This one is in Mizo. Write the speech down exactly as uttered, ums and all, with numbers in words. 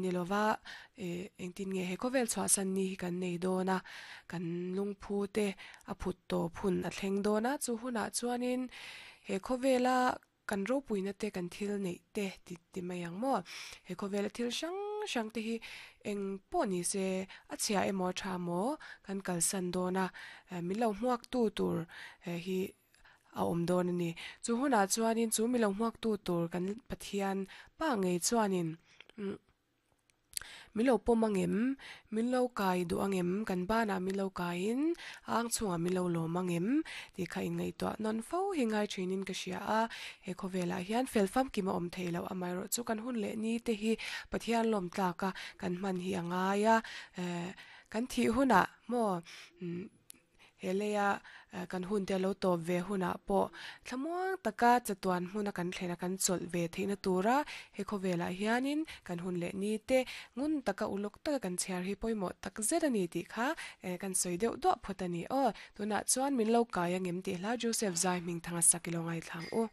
ni lova eh engtin nge he khawvel chhuahsan ni hi kan nei dawn a kan lungphu te a phut tawp hun a thleng dawn a chu hunah chuanin he khawvela kan ropuina te kan thil neih te ti ti mai ang maw he khawvela thil hrang hrang te hi eng pawh ni se a chhia emaw tha maw kan kalsan dawn a min lo hmuak tu tur hi a awm dawn ani chu hunah chuanin chu mi lo hmuak tu tur kan Pathian pa ngei chuanin umm min lo pawm angem min lo kai duh angem kan banah min lo kaiin ang chungah min lo lawm angem tih kha inngaihtuah nawn fo hi ngai thinin ka hria a he khawvelah hian fel famkim a awm thei loh amaherawh chu kan hun leh ni te hi Pathian lawm tlak a kan hman hi a ngai a eh kan thih hunah maw umm he leia kan hun te lo tawp ve hunah pawh thlamuang taka chatuan hmuna kan thlen a kan chawlh ve theihna tura he khawvelah hianin kan hun leh ni te ngun taka uluk taka kan chhiar hi pawimawh tak zet ani tih kha eh kan sawi deuh duah phawt ani aw tunah chuan min lo kai angem tih hla Joseph Zai hming thanga sak ilo ngaithlang u.